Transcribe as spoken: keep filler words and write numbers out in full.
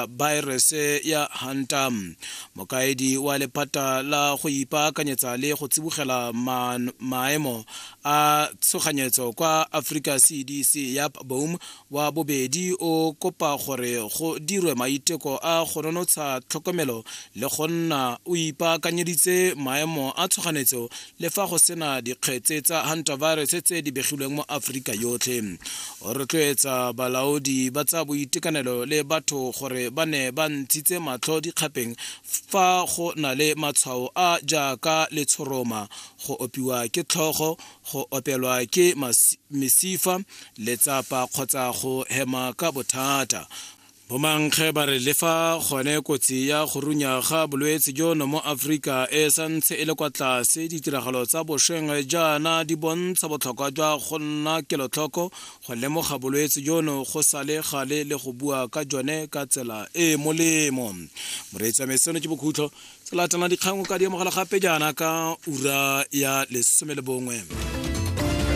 baerese ya Hanta. Mokaedi wa lephata la go ipaakanyetsa le go tsibogela maemo a tshoganyetso kwa Africa C D C ya Boom wa bobedi o kopa gore go dirwe maiteko a go nonotsha tlhokomelo le go nna o ipaakanyeditse maemo a tshoganyetso le fa go sena dikgetse tsa hantavirus tse di begilweng mo Afrika yotlhe. O rotloetsa balaodi ba tsa boitekanelo le batho gore ba ne ba ntshitse matlho dikgapeng fa go na le matshwao a jaaka letshoroma, go opiwa ke tlhogo, go opelwa ke mesifa, letsapa kgotsa go hema ka bothata. Bomankge ba re le fa gone kotsi ya go runya ga bolwetse jono mo Afrika e santse e le kwa tlase, ditiragalo tsa bošweng jaana di bontsha botlhokwa jwa go nna kelotlhoko, go lemoga bolwetse jono go sa le gale le go bua ka jone ka tsela e e molemo. Moreetsi wa me, seno ke bokhutlo. Tse latelang dikgang o ka di amogela gape jaana ka ura ya lesome le bongwe.